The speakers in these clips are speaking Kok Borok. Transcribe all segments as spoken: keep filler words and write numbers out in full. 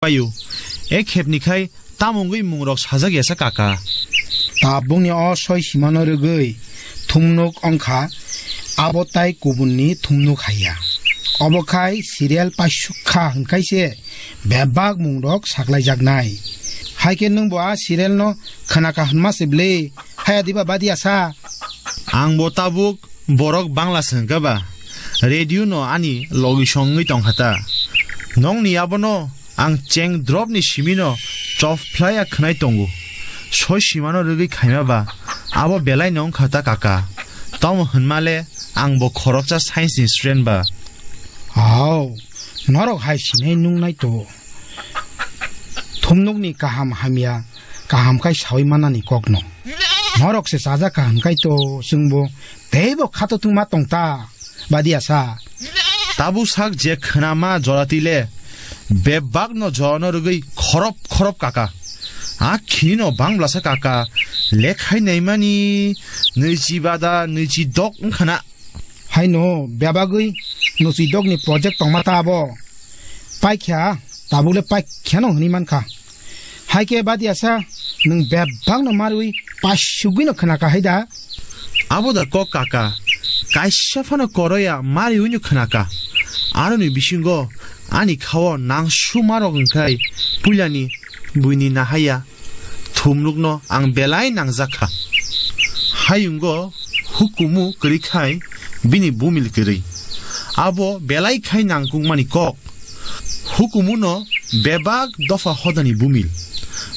paio. E khepni khai tamo wngwi mungrok sajak yasa kaka? Tabukni o soi simano rwgwi thumnuk wngkha, abo tai kubunni thumnuk haiya. Obo khai serial paisuk kha hwnkhaise bebak mungrok saklaijaknai. Haikhe nwngbo a serial no khwnaka hwnma se bwle? Haya diba badi asa? Ang bo tabuk borok Bangla se hwnkha ba, radio no ani logi songwi tongkha ta. Nongni abono ang cheng drop ni simi no chop phlai ya khwnai tongo. Soi simano rwgwi khaima ba, abo belai no wngkha ta kaka. Tamo hwnma le ang bo khoroksa science ni student ba. Hao, norok hai sinai nungnai to. Thumnukni kaham hamya, kaham khai sawi manani kokno. Norok se chajak kaham khai to chwngbo teibo khato thwngma tongta, badi asa. Tabuk sak je khwnama joratwi le, bebak no jorano rwgwi khorop khorop kaka. A khini no bangbla sa kaka, lekhai naimani nwichi bada nwichi dok wngkhana. Haino bebagwi nwichi dok ni project tongma ta abo. Paikha, tabuk le paikha no hwnwi mankha. Haikhe badi asa, nwng bebak no marwi pasugwi no khwnaka haida. Abo da kok kaka, kaisa phano koroya mariwi no khwnaka. Aroni bisingo ani khao nang sumarok wngkhai puilani buini nahaya thumnukno ang belai nangjakha. Hayungo hukumu kwrwi khai bini bumil kwrwi. Abo belai khai nangkukmani kok. Hukumuno bebak dopha hodani bumil.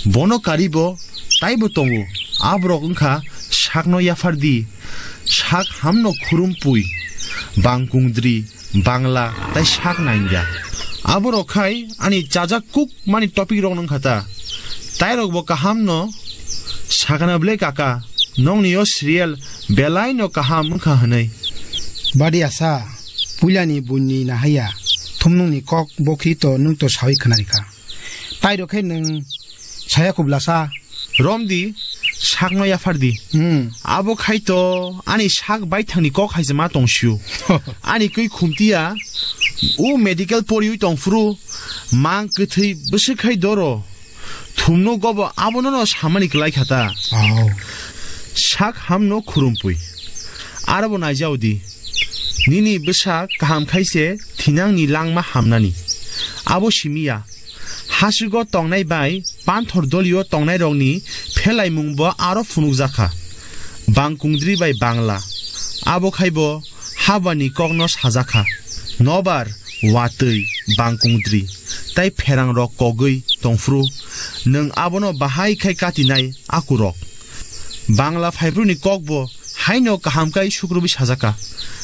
Bono karibo taibo tongo. Aborok wngkha sakno yaphardi, sak hamno khurumpui, bangkungdri, Bangla tai sak nangya. Aborok khai ani chajak kuk mani topic rok nung khata. Tairok bo kaham no sakana ble kaka, nongni o serial belai no kaham wngkha hwnwi. Badi asa, puilani buini nahaya, thumnungni kok bokhi to nung to sawi khwnarikha. Tairok khe nung saya kublasa. Romdi, sakno yaphardi. Hmm. Abo khai to ani sak baithangni kok hai se ma tong sio. Ani kwi khumtiya, u medical poriwi tong phuru, mang kwthwi bwswk khai doro. Thumno gobo abono no samani kwlai khata. Oh. Sak hamno khurumpui. Arabo naijao di. Nini bwsa kaham khai se thinangni langma hamnani. Abo simiya. Hasugo tongnai bai panthor dolio tongnairokni phelaimungbo aro phunukjakha. Bangkungdri bai Bangla. Abo khaibo habani kokno sajakha. Nobar, watwi, bangkungdri, tai pherangrok kogwi tongphuru, nwng abono bahai khai katinai akurok. Bangla phaibruni kokbo haino kaham kai sukrubwi sajaka.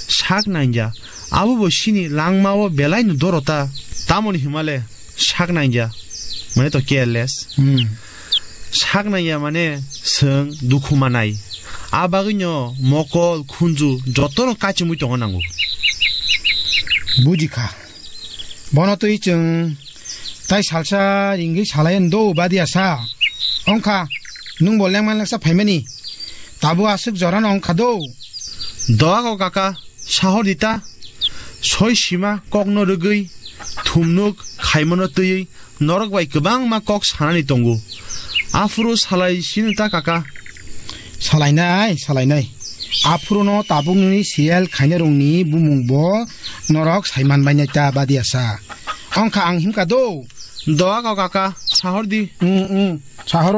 Sak nangya, abobo sini langmao belaino dorota. Tamoni himale sak nangya, mane to careless. Hmm. Sak nangya mane swng dukhu manai. A bagwino mokol, khunju jotono kachimwi tongo nango. Bujikha. Bono twi chwng tai salsa ringwi salai do badi asa. Ongkha, nwng bo lengman leksa phaimani. Tabuk aswk jorano ongkha do. Doago kaka, sahor dita. Soi sima kokno rwgwi, thumnuk khaimano twiwi, norok bai kwbangma kok sanani tongo. Aphuru salai sino ta kaka. Salainai, salainai. Aphuruno tabukni serial khainarokni bumungbo norok saiman bainai ta badi asa. Ongkha ang himkha do. Doago kaka, sahor di. Mm, mm, sahoro na.